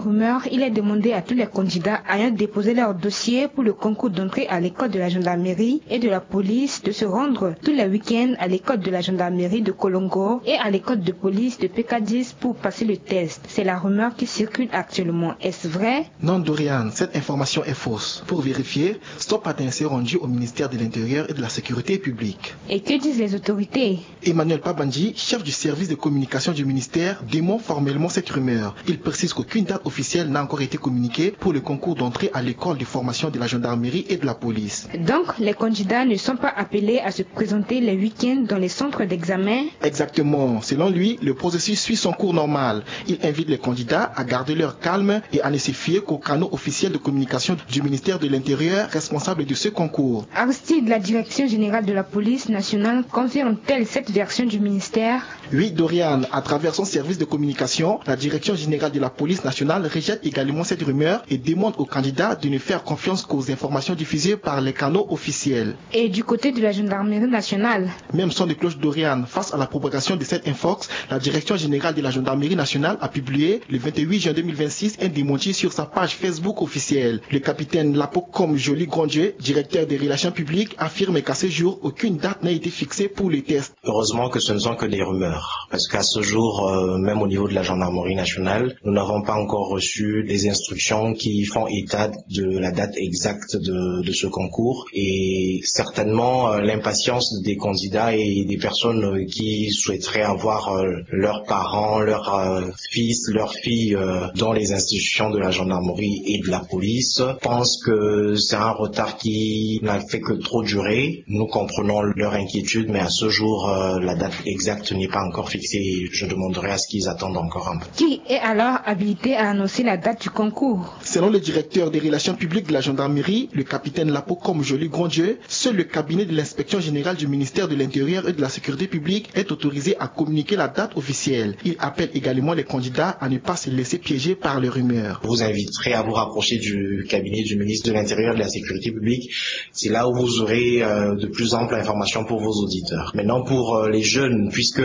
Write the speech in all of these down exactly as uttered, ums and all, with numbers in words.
Rumeur, il est demandé à tous les candidats ayant déposé leur dossier pour le concours d'entrée à l'école de la gendarmerie et de la police de se rendre tous les week-ends à l'école de la gendarmerie de Kolongo et à l'école de police de P K dix pour passer le test. C'est la rumeur qui circule actuellement. Est-ce vrai ? Non, Dorian, cette information est fausse. Pour vérifier, Stop Atin s'est rendu au ministère de l'Intérieur et de la Sécurité publique. Et que disent les autorités ? Emmanuel Pabandji, chef du service de communication du ministère, dément formellement cette rumeur. Il précise qu'aucune date officielle n'a encore été communiquée pour le concours d'entrée à l'école de formation de la gendarmerie et de la police. Donc, les candidats ne sont pas appelés à se présenter les week-ends dans les centres d'examen ? Exactement. Selon lui, le processus suit son cours normal. Il invite les candidats à garder leur calme et à ne se fier qu'aux canaux officiels de communication du ministère de l'Intérieur, responsable de ce concours. Aristide, la Direction générale de la police nationale confirme-t-elle cette version du ministère ? Oui, Dorian, à travers son service de communication, la Direction générale de la police nationale rejette également cette rumeur et demande aux candidats de ne faire confiance qu'aux informations diffusées par les canaux officiels. Et du côté de la gendarmerie nationale ? Même son de cloche, Dorian, face à la propagation de cette infox, la Direction générale de la gendarmerie nationale a publié le vingt-huit juin deux mille vingt-six un démenti sur sa page Facebook officielle. Le capitaine Lapo Comme Joli Grandjeu, directeur des relations publiques, affirme qu'à ce jour, aucune date n'a été fixée pour les tests. Heureusement que ce ne sont que des rumeurs, parce qu'à ce jour, euh, même au niveau de la gendarmerie nationale, nous n'avons pas encore reçu des instructions qui font état de la date exacte de, de ce concours. Et certainement, euh, l'impatience des candidats et des personnes, euh, qui souhaiteraient avoir, euh, leurs parents, leurs, euh, fils, leurs filles, euh, dans les institutions de la gendarmerie et de la police, pensent que c'est un retard qui n'a fait que trop durer. Nous comprenons leur inquiétude, mais à ce jour, euh, la date exacte n'est pas encore fixée. Je demanderai à ce qu'ils attendent encore un peu. Qui est alors habilité à annoncer la date du concours ? Selon le directeur des relations publiques de la gendarmerie, le capitaine Lapo Comme Joli Grandjeu, seul le cabinet de l'inspection générale du ministère de l'Intérieur et de la Sécurité publique est autorisé à communiquer la date officielle. Il appelle également les candidats à ne pas se laisser piéger par les rumeurs. Vous inviterez à vous rapprocher du cabinet du ministre de l'Intérieur et de la Sécurité publique. C'est là où vous aurez, euh, de plus amples informations pour vos auditeurs. Maintenant, pour, euh, les jeunes, puisque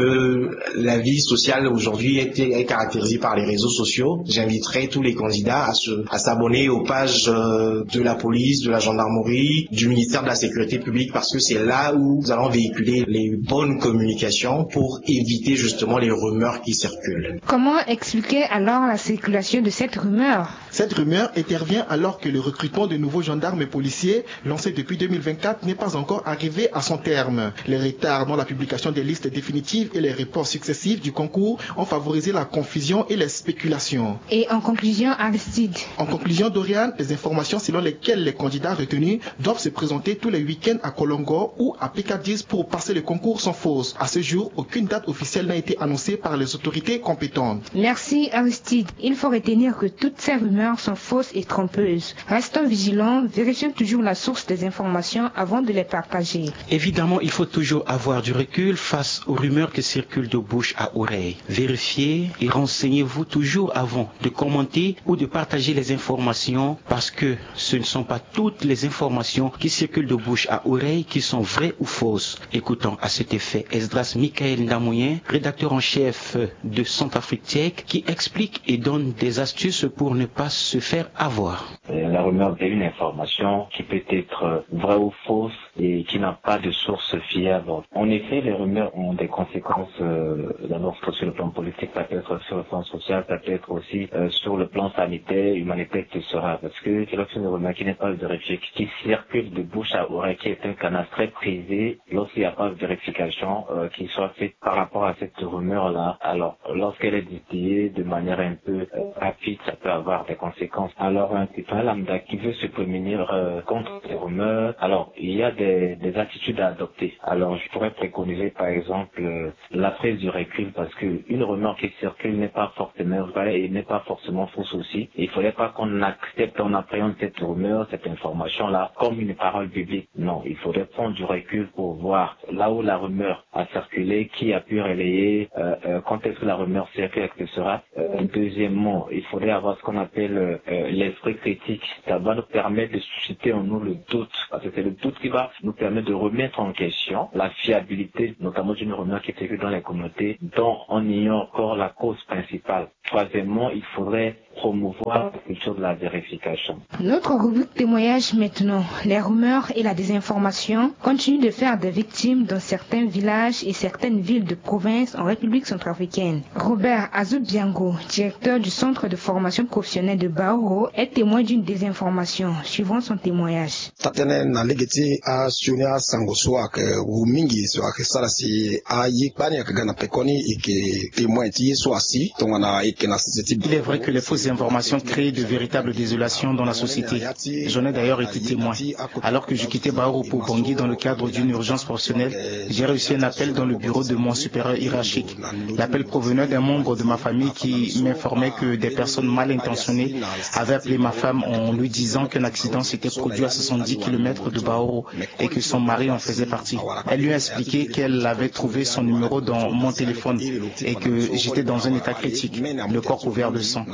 la vie sociale aujourd'hui est, est caractérisée par les réseaux sociaux, j'inviterai tous les candidats à se, à s'abonner aux pages, euh, de la police, de la gendarmerie, du ministère de la Sécurité publique, parce que c'est là où nous allons véhiculer les bonnes communications pour éviter justement les rumeurs qui circulent. Comment expliquer alors la circulation de cette rumeur ? Cette rumeur intervient alors que le recrutement de nouveaux gendarmes et policiers lancé depuis deux mille vingt-quatre n'est pas encore arrivé à son terme. Les retards dans la publication des listes définitives et les reports successifs du concours ont favorisé la confusion et les spéculations. Et en conclusion, Aristide ? En conclusion, Dorian, les informations selon lesquelles les candidats retenus doivent se présenter tous les week-ends à Kolongo ou à P K dix pour passer le concours sont fausses. À ce jour, aucune date officielle n'a été annoncée par les autorités compétentes. Merci, Aristide. Il faut retenir que toutes ces rumeurs sont fausses et trompeuses. Restons vigilants, vérifions toujours la source des informations avant de les partager. Évidemment, il faut toujours avoir du recul face aux rumeurs qui circulent de bouche à oreille. Vérifiez et renseignez-vous toujours avant de commenter ou de partager les informations, parce que ce ne sont pas toutes les informations qui circulent de bouche à oreille qui sont vraies ou fausses. Écoutons à cet effet Esdras Michael Ndamouyen, rédacteur en chef de Centrafrique Tchèque, qui explique et donne des astuces pour ne pas se faire avoir. Euh, la rumeur est une information qui peut être, euh, vraie ou fausse et qui n'a pas de source fiable. En effet, les rumeurs ont des conséquences, euh, d'abord sur le plan politique, ça peut être sur le plan social, ça peut être aussi, euh, sur le plan sanitaire, humanitaire, et cetera. Parce que c'est lorsqu'une rumeur qui n'est pas vérifiée, qui circule de bouche à oreille, qui est un canal très prisé, lorsqu'il n'y a pas de vérification, euh, qui soit faite par rapport à cette rumeur-là, alors lorsqu'elle est distillée de manière un peu, euh, rapide, ça peut avoir des conséquences. Alors, un citoyen lambda qui veut se prémunir, euh, contre ces rumeurs, alors, il y a des, des attitudes à adopter. Alors, je pourrais préconiser, par exemple, euh, la prise du recul, parce que une rumeur qui circule n'est pas forcément vraie et n'est pas forcément fausse aussi. Il ne faudrait pas qu'on accepte, on appréhende cette rumeur, cette information-là, comme une parole biblique. Non, il faudrait prendre du recul pour voir là où la rumeur a circulé, qui a pu relayer, euh, euh, quand est-ce que la rumeur circule, et cetera. Euh, deuxièmement, il faudrait avoir ce qu'on appelle, euh, euh, l'esprit critique. Ça va nous permettre de susciter en nous le doute, parce que c'est le doute qui va nous permettre de remettre en question la fiabilité, notamment d'une rumeur qui circule dans les communautés, dont on ignore encore la cause principale. Troisièmement, il faudrait promouvoir la culture de la vérification. Notre rubrique témoignage maintenant. Les rumeurs et la désinformation continuent de faire des victimes dans certains villages et certaines villes de province en République centrafricaine. Robert Azubiango, directeur du centre de formation professionnelle de Baoro, est témoin d'une désinformation. Suivant son témoignage. Tatene na lege ti asioni asango so ayeke wu mingi so ayeke sara si aye kpani ayeke ga na pekoni e yeke témoin ti ye so asi tongana e yeke na sese ti. Il est vrai que les fausses informations créent de véritables désolations dans la société. J'en ai d'ailleurs été témoin. Alors que je quittais Baoro pour Bangui dans le cadre d'une urgence professionnelle, j'ai reçu un appel dans le bureau de mon supérieur hiérarchique. L'appel provenait d'un membre de ma famille qui m'informait que des personnes mal intentionnées avaient appelé ma femme en lui disant qu'un accident s'était produit à soixante-dix kilomètres de Baoro et que son mari en faisait partie. Elle lui a expliqué qu'elle avait trouvé son numéro dans mon téléphone et que j'étais dans un état critique, le corps couvert de sang.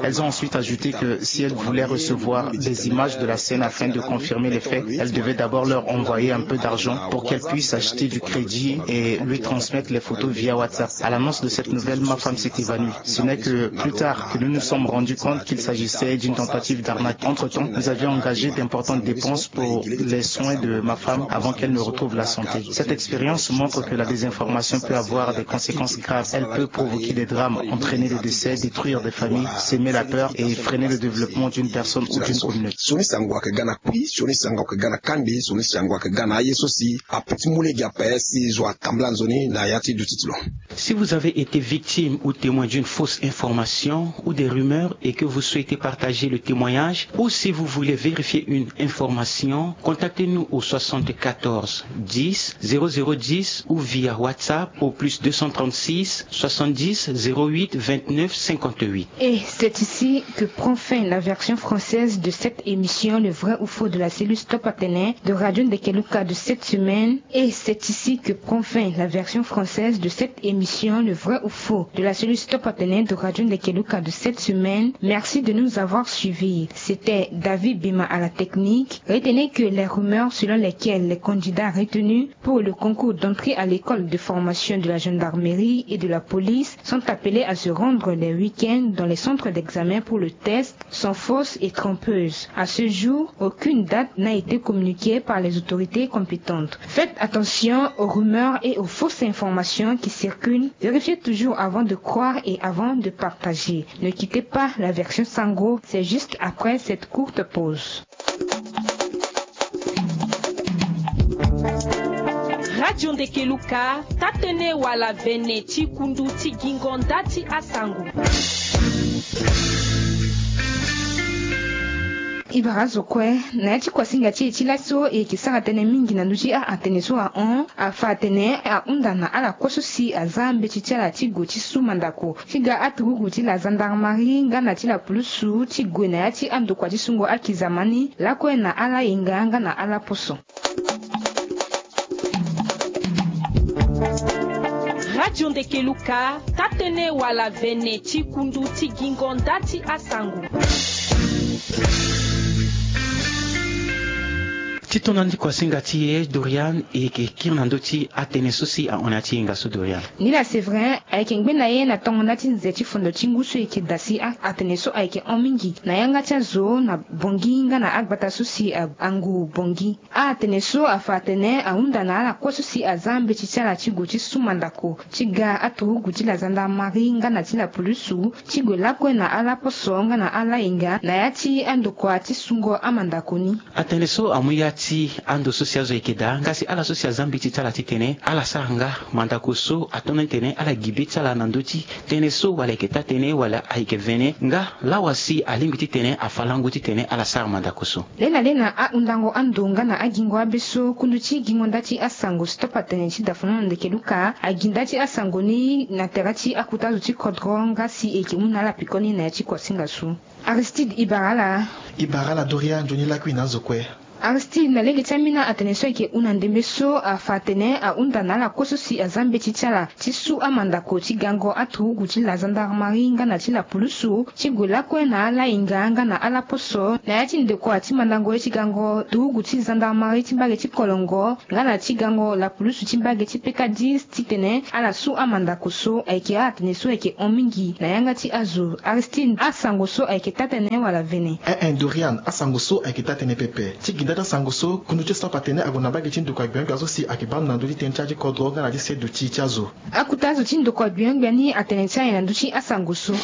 Elles ont ensuite ajouté que si elles voulaient recevoir des images de la scène afin de confirmer les faits, elles devaient d'abord leur envoyer un peu d'argent pour qu'elles puissent acheter du crédit et lui transmettre les photos via WhatsApp. À l'annonce de cette nouvelle, ma femme s'est évanouie. Ce n'est que plus tard que nous nous sommes rendus compte qu'il s'agissait d'une tentative d'arnaque. Entre-temps, nous avions engagé d'importantes dépenses pour les soins de ma femme avant qu'elle ne retrouve la santé. Cette expérience montre que la désinformation peut avoir des conséquences graves. Elle peut provoquer des drames, entraîner des décès, détruire des familles, semer la peur et freiner le développement d'une personne ou d'une communauté. Sioni sango ayeke ga na kui, sioni sango ayeke ga na kangbi, sioni sango ayeke ga na aye so si ape ti mu lege ape si zo atambula nzoni na ya ti duti ti lo. Si vous avez été victime ou témoin d'une fausse information ou des rumeurs et que vous souhaitez partager le témoignage, ou si vous voulez vérifier une information, contactez-nous au soixante-quatorze dix zéro zéro dix ou via WhatsApp au plus deux cent trente-six soixante-dix zéro huit vingt-neuf cinquante-huit. Et c'est ici que prend fin la version française de cette émission, Le Vrai ou Faux de la cellule Stop Atene de Radio Ndekeluka de cette semaine. Et c'est ici que prend fin la version française de cette émission, Le Vrai ou Faux de la cellule Stop Atene de Radio Ndekeluka de cette semaine. Merci de nous avoir suivis. C'était David Bima à la technique. Retenez que les rumeurs selon lesquelles les candidats retenus pour le concours d'entrée à l'école de formation de la gendarmerie et de la police sont appelés à se rendre les week-ends dans les centres d'examen pour le test sont fausses et trompeuses. À ce jour, aucune date n'a été communiquée par les autorités compétentes. Faites attention aux rumeurs et aux fausses informations qui circulent. Vérifiez toujours avant de croire et avant de partager. Ne quittez pas la version Sango, c'est juste après cette courte pause. Radio Ndekeluka, tatene wala vene ti kundu ti gingo nda ti asango. E bara zo kue na ya ti kuasinga ti e ti laso e yeke sara tënë mingi na ndö ti a-atene so ahon afa atene ahunda na ala kue so si aza mbeti ti ala ti gue ti su mandako ti ga aturugu ti la gendarmerie nga na ti la pulusu ti gue na ya ti andokua ti sungo akizama ni lakue na ala yenga nga na ala poso. Radio Ndekeluka, tatene wala vene ti kundu ti gingo nda ti asango. Ti tonda ndi kuasinga ti e Dorian e yeke kiri na ndö ti atene so si ahon na ya ti hinga so Dorian. Nila Séverin ayeke ngbe na ye na tongo nda ti nze ti fondo ti ngu so e yeke daa si a-atene so ayeke hon mingi na yanga ti azo na Bangui nga na agbata so si angu Bangui. A-atene so afa atene ahunda na ala kue so si aza mbeti ti ala ti gue ti su mandako ti ga aturugu ti la gendarmerie nga na ti la pulusu ti gue lakue na ala poso nga na ala yenga na ya ti andokua ti sungo amandako ni. Atene so amu ya ti ando so si azo ayeke daa nga si ala so si aza mbeti ti ala titene ala sara nga mandako so atonda ni titene ala gi be ti ala na ndö ti tënë so wala ayeke taa tënë wala ayeke vene nga lawa si alingbi titene afa lango titene ala sara mandako so. Lena lena ahundango ando nga na agingo abe so kundu ti gingo nda ti asango Stop Atene ti dafono na Ndekeluka agi nda ti asango ni na tere ti akuta azo ti kodro nga si e yeke mu na ala pekoni na ya ti kuasinga so. Aristide, e bara ala. E bara ala Doria, nzoni lakui na azo kue. Aristide na lege ti ambeni atene so ayeke hunda ndembe so afa atene ahunda na ala kue so si aza mbeti ti ala ti su amandako ti gango aturugu ti la gendarmerie nga na ti la pulusu ti gue lakue na ala hinga nga na ala poso na ya ti ndokua ti mandango ye ti gango turugu ti gendarmerie ti mbage ti kolongo nga na ti gango la pulusu ti mbage ti peka dix titene ala su amandako so ayeke atene so ayeke hon mingi na yanga ti azo. Aristide, asango so ayeke taa-tënë wala vene? Ee, Dorian, asango so ayeke taa-tënë pepe. Ti gi nda ti asango so, kundu ti stop atene ague na mbage ti ndokua gbia-gbia so si ayeke baa ndo na ndö ti tënë ti ya ti kodro nga na ti seduti ti azo. Akota azo ti ndokua gbia-gbia ni atene ti aye na ndö ti asango so.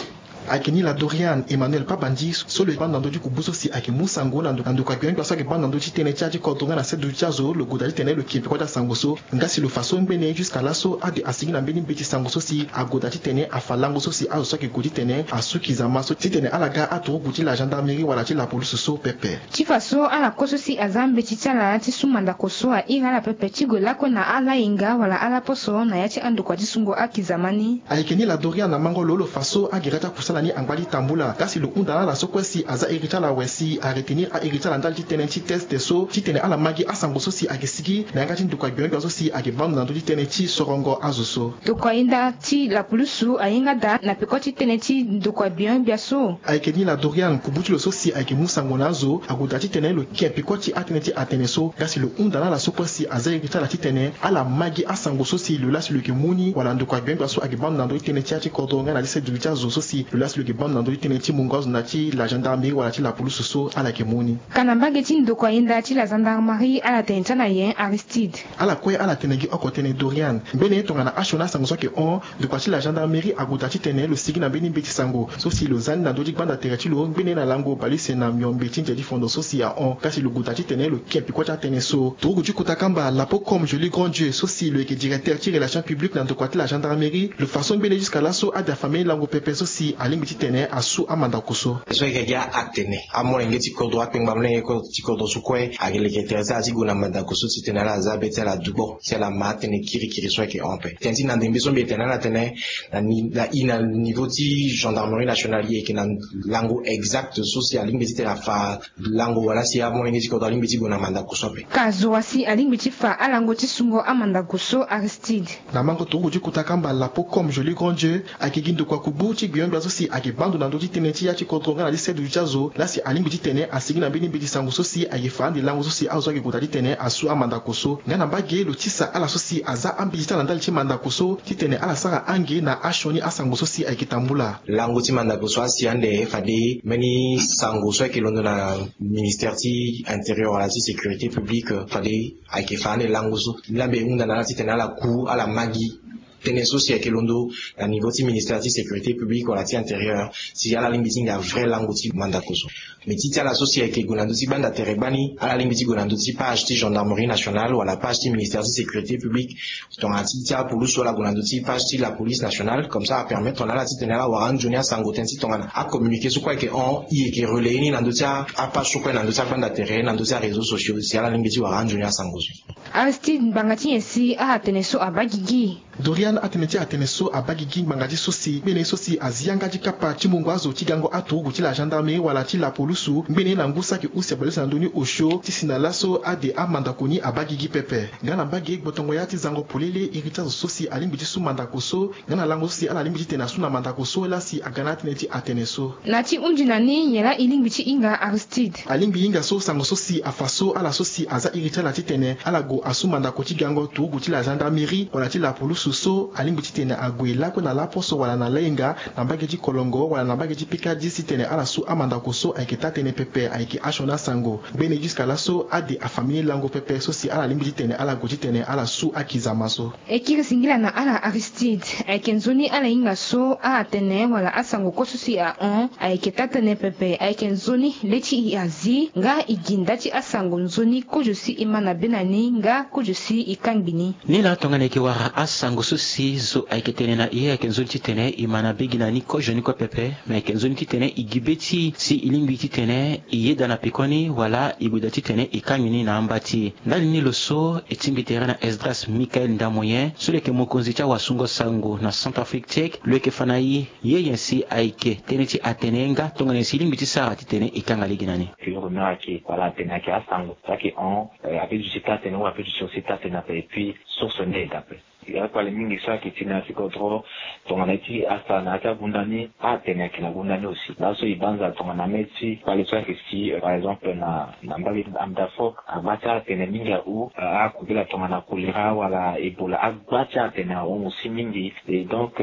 Ayeke ni la Dorian Emmanuel Pabandi so lo yeke baa ndo na ndö ti kubu so si ayeke mu sango na ndokua gbia-gbia so ayeke baa ndo na ndö ti tënë ti ya ti kodro nga na seduti ti azo, lo gue daa titene lo ke peko ti asango so. Nga si lo fa so ngbene jusqu'à laso ade asigi na mbeni mbeti sango so si ague daa titene afa lango so si azo so ayeke gue titene asu kizama so titene ala ga aturugu ti la gendarmerie wala ti la police so pepe. Ti fa so ala kue so si aza mbeti ti ala ti su mandako so ahiri ala pepe ti gue lakue na ala hinga wala ala poso na ya ti andokua ti sungo akizama ni. Ayeke ni la Dorian na mango lo lo fa so agere ti akusala ni angba ti tambula nga si lo hunda na ala so kue si aza iri ti ala awe si aretenir airi ti ala ndali ti tënë ti test so titene ala ma gi asango so si ayeke sigi na yanga ti ndokua gbia-gbia so si ayeke baa ndo na ndö ti tënë ti sorongo azo so. Ndokua yenda ti la pulusu ahinga daa na peko ti tënë ti ndokua gbia-gbia so. Ayeke ni la Dorian, kubu ti lo so si ayeke mu sango na azo ague daa titene lo ke peko ti atënë ti atene so nga si lo hunda na ala so kue si aza iri ti ala titene ala ma gi asango so si lo laa si lo yeke mu ni wala ndokua gbia-gbia so ayeke baa ndo na ndö ti tënë ti ya ti kodro nga na ti seduti ti azo so si lo laa si lo yeke baa ndo na ndö ti tënë ti mungo azo na ti la gendarmerie wala ti la police so ala yeke mu ni. Ka na mbage ti ndokua yenda ti la gendarmerie ala tene ti ala nyen, Aristide? Ala kue ala tene gi oko tënë, Dorian. Ngbene tongana asioni asango so ayeke hon, ndokua ti la gendarmerie ague daa titene lo sigi na mbeni mbeti sango so si lo za ni na ndö ti gbanda tere ti lo ngbene na lango baleuse na miombe ti nze ti fondo so si ahon nga si lo gue daa titene lo ke peko ti atënë so. Turugu ti kota kamba Lapo Comme Joly Grand Dieu so si lo yeke directeur ti relation publique na ndokua ti la gendarmerie, lo fa so ngbene jusqu'à laso ade afa mbeni lango pepe so si alingbi titene asu amandako so. So ayeke gi atene amolenge ti kodro, akpengba molenge ti kodro so kue ayeke leke tere ti ala ti gue na mandako so titene ala za be ti ala dugbo si ala ma atënë kirikiri so ayeke hon ape. Tënë ti na ndembe so mbi yeke tene na ala tene na ni- na i na niveau ti gendarmerie nationale, i yeke na lango exact so si alingbi titene afa lango wala si amolenge ti kodro alingbi ti gue na mandako so ape. Ka zo wa si alingbi ti fa alango ti sungo amandako so, Aristide? Na mango turugu ti kota kamba Lapo Comme Joly Grand Dieu, ayeke gi ndokua kubu ti gbia-gbia so si ayeke baa ndo na ndö ti tënë ti ya ti kodro nga na ti seduti ti azo laa si alingbi titene asigi na mbeni mbeti sango so si ayeke fa ande lango so si azo so ayeke gue daa titene asu amandako so. Nga na mbage lo tisa ala so si aza ambeti ti ala ndali ti mandako so titene ala sara ange na asioni asango so si ayeke tambula. Lango ti mandako so asi ande fade mbeni sango so ayeke londo na ministère ti intérieur wala ti sécurité publique, fade ayeke fa ande lango so. Ni la mbi hunda na ala titene ala ku ala ma gi tënë so si ayeke londo na niveau ti ministère ti sécurité publique wala ti intérieur si ala lingbi ti hinga vrai lango ti mandako so. Mais ti ti ala so si ayeke gue na ndö ti gbanda tere gbani, ala lingbi ti gue na ndö ti page ti gendarmerie nationale wala page ti ministère ti sécurité publique. Tongana ti ti apulusu, ala gue na ndö ti page ti la police nationale, comme ça apermettre na ala titene ala wara nzoni asango tënë ti tongana acommuniqué so kue ayeke hon, i yeke relayer ni na ndö ti apage so kue na ndö ti agbanda tere, na ndö ti aréseau sociaux, si ala lingbi ti wara nzoni asango so. Aristide, ngbanga ti nyen si atene so abaa gigi? Dorian, atene ti atene so abaa gigi ngbanga ti so si ngbene so si azi yanga ti kapa ti mungo azo ti gango aturugu ti la gendarmerie wala ti la polusu ngbene na ngu saki use baleuse na ndoni osio ti si na laso ade amandako ni abaa gigi pepe. Nga na mbage gbotongo ya ti zango polele iri ti azo so si alingbi ti su mandako so nga na lango so si ala lingbi ti tene asu na mandako so laa si aga na atënë ti atene so. Na ti hunzi na ni, nyen laa e lingbi ti hinga, Aristide? Alingbi hinga so sango so si afa so ala so si aza iri ti ala titene ala gue asu mandako ti gango turugu ti la gendarmerie wala ti la polusu so alingbi titene ague lakue na laposo wala na lahinga na mbage ti kolongo wala na mbage ti pekadi titene ala su amandako so ayeke taa-tënë pepe, ayeke asioni asango. Ngbene jusqu'à laso ade afa mbeni lango pepe so si ala lingbi titene ala gue titene ala su akizama so. E kiri singila na ala, Aristide. Ayeke nzoni ala hinga so atene wala asango kue so si ahon ayeke taa-tënë pepe. Ayeke nzoni le ti e azi nga e gi nda ti asango nzoni kozo si e ma na be na ni nga kozo si e kangbi ni. Ni laa tongana e yeke wara asango Oso si zo ayeke tene na e ayeke nzoni titene e ma na be gi na ni kozoni kue pepe. Me ayeke nzoni titene e gi be ti e si e lingbi titene e yeda na pekoni wala e gue daa titene e kangbi ni na amba ti e. Ndali ni lo so e tingbi tere na Esdras Michael Ndamoyen so lo yeke mokonzi ti awasungo-sango na Centrafrique Tchèque, lo yeke fa na e ye nyen si ayeke tënë ti atene nga tongana nyen si e lingbi ti sara titene e kanga lege na ni. Pur rumeur ayeke wala atene ayeke asango so ayeke hon. Ape duti taa tënë ou ape duti aussi taa tënë ape et puis source nde e daa ape. Akpale mingi so ayeke ti na ya ti kodro tongana ye ti asara na ya ti agunda ni atene ayeke na gunda ni aussi laso e banza tongana mê ti kpale so ayeke si par exemple na na mbage ti Amdafok agba ti atene mingi ahon. Akubela tongana kolera wala ebola agba ti atene ahon aussi mingi. Et donc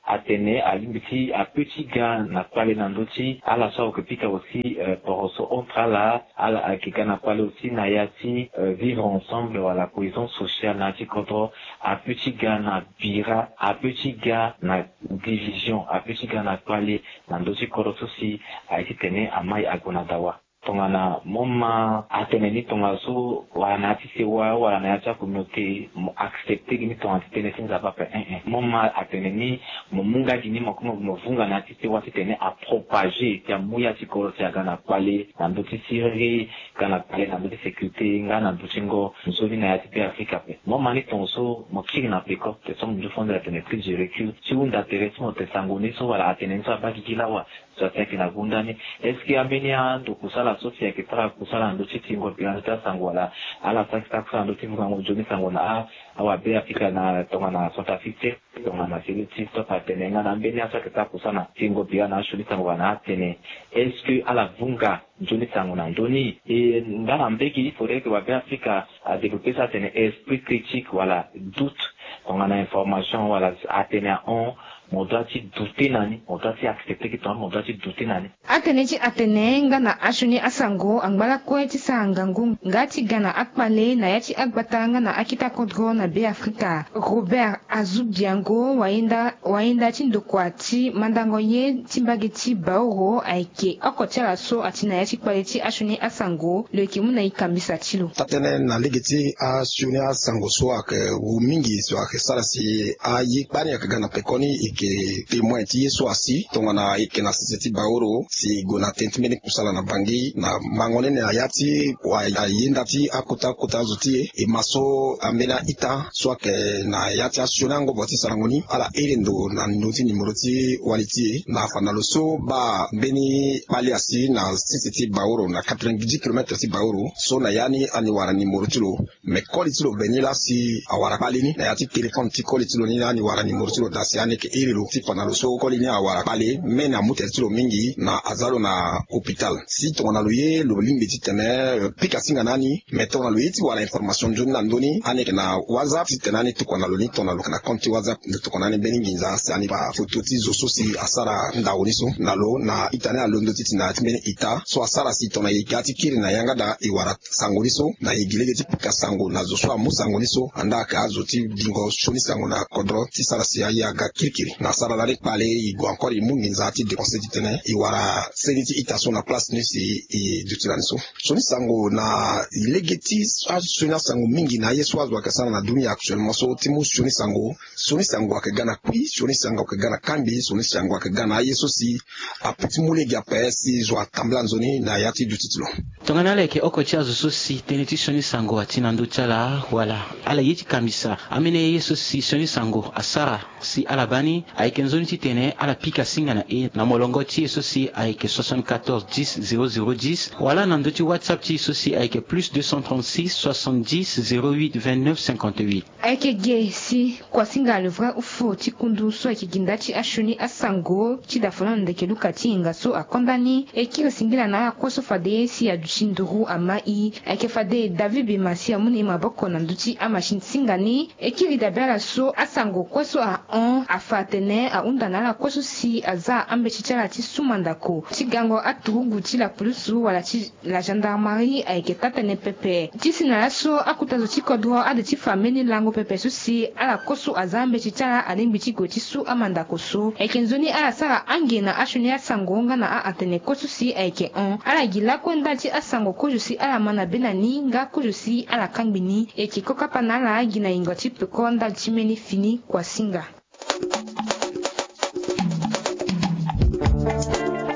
atene alingbi ti ape ti ga na kpale na ndö ti ala so aoke pika aussi poroso entre ala ala ayeke ga na kpale aussi na ya ti vivre ensemble wala cohésion sociale na ya ti kodro. Ape ti ga na bira ape ti ga na division ape ti ga na kpale na ndö ti kodro so si aye titene amai ague na dawa. Tongana mo ma atene ni tongaso wala na ya ti sewa wala na ya ti acommunauté mo accepte gi ni tongana ti tënë ti nzapa ape. Mo ma atene ni mo mu nga gi ni mo kue mo vunga na ya ti sewa titene apropage si amu ya ti kodro si aga na kpale na ndö ti siriri nga na kpale na ndö ti sécurité nga na ndö ti ngo nzoni na ya ti be afrika ape. Mo ma ni tongaso mo kiri na peko te so mo nzu fo nde atene prise de recul ti hunda tere ti mo te sango ni so wala atene ni so abaa gigi lawa. So asi ayeke na gunda ni est-ce que ambeni ando kusala so si ayeke sara kusala na ndö ti tingo bira na ndö ti asango wala ala so ayeke sara kusala na ndö ti vungango nzoni sango na awabe afrika na tongana centrafrique te tongana siriri ti stop atene nga na ambeni aso ayeke sara kusala na tingo bira na asioni sango wala na atene est-ce que ala vunga nzoni sango na ndö ni? E nga na mbege il faudrait que wabe afrika adévelopper so atene esprit critique wala doute tongana information wala atene ahon. Mo doit ti douter na ni mo doit ti accepter ke tongana mo doit ti douter na ni. Atene ti atene nga na asioni asango angba lakue ti sara ngangu nga ti ga na akpale na ya ti agbata nga na akita kodro na be afrika. Robert azubiango wayenda wayenda ti ndokua ti mandango ye ti mbage ti baoro ayeke oko ti ala so ati na ya ti kpale ti asioni asango lo yeke mu na e kambisa ti lo. Taa-tënë na lege ti asioni asango so ayeke wu mingi so ayeke sara si aye kpani ayeke ga na pekoni e yeke témoin ti ye so asi tongana e yeke na sese ti baoro si e gue na tënë ti mbeni kusala na bangi na mango ni na ya ti wa ayenda ti akota akota azo ti e e ma so ambeni a-ita so ayeke na ya ti asioni angobo ti sarango ni ala iri ndo na ndö ti nimero ti wali ti e na afa na lo so baa mbeni kpali asi na sese ti baoro na quatre-vingt-dix kilomètre ti baoro so na ya ni ani wara nimero ti lo. Me koli ti lo be ni laa si awara kpale ni na ya ti téléphone ti koli ti lo ni laa ni wara nimero ti lo daa si ani yeke iri lo ti fa na lo so koli ni awara kpale me na amu tere ti lo mingi na aza lo na hôpital si tongana lo ye lo lingbi titene pika singa na ani. Me tongana lo ye ti wara information nzoni na ndö ni ani yeke na whatsapp titene ani tokua na lo ni tongana lo yeke na compte ti whatsapp. Lo tokua na ani mbeni nginza si ani baa foto ti zo so si asara ndau ni so na lo na ita ni alondo ti ti na ya ti mbeni ita so asara si tongana e ga ti kiri na yanga daa e wara sango ni so na e gi lege ti pika sango na zo so amu sango ni so andaa ayeke azo ti dingo sioni sango na kodro ti sara si aye aga kirikiri na asara lani kpale e gue encore e mu nginza ti dépenser titene e wara seni ti ita so na place ni si e duti lani so. Sioni sango na lege ti asioni asango mingi na aye so azo ayeke sara na dunia actuellement so ti mu sioni sango. Sioni sango ayeke ga na kui sioni sango ayeke ga na kangbi sioni sango ayeke ga na aye so si ape ti mu lege ape si zo atambula nzoni na ya ti duti ti lo. Tongana ala yeke oko ti azo so si tënë ti sioni sango ati na ndö ti ala wala ala ye ti kambisa ambeni ye so si sioni sango asara si ala baa ni ayeke nzoni titene ala pika singa na e na molongo ti e so si ayeke soixante-quatorze dix zéro zéro dix wala na ndö ti whatsapp ti e so si ayeke plus deux cent trente-six soixante-dix zéro huit vingt-neuf cinquante-huit. Ayeke ge si kuasinga le vrai ou faux ti kundu so ayeke gi nda ti asioni asango ti dafolon na ndeke luka ti hinga so akonda ni e kiri singila na ala kue so fade si aduti nduru ama i. Ayeke fade david bema si amu na e maboko na ndö ti amachine singa ni e kiri dabe ala so asango kue so ahon afa. atene ahunda na ala kue so si aza ambeti ti ala ti su mandako ti gango aturugu ti la police wala ti la gendarmerie ayeke taa-tënë pepe. Ti si na laso akota zo ti kodro ade ti fa mbeni lango pepe so si ala kue so aza ambeti ti ala alingbi ti gue ti su amandako so. Ayeke nzoni ala sara ange na asioni asango nga na a-atene kue so si ayeke hon. Ala gi lakue ndali ti asango kozo si ala ma na be na ni nga kozo si ala kangbi ni. Eke kokapa na ala gi na yingo ti peko ndali ti mbeni fini kuasinga.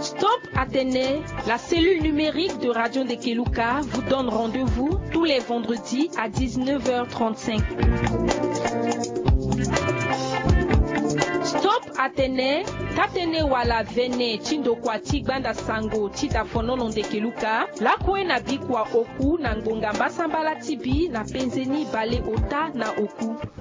Stop Atene, la cellule numérique de Radio Ndekeluka vous donne rendez-vous tous les vendredis à dix-neuf heures trente-cinq. Stop Atene, taa-tënë wala vene ti ndokua ti gbanda sango ti dafonono Ndekeluka, lakue na bikua oku na ngbonga mbasambala ti bi na penze ni baleota na oku.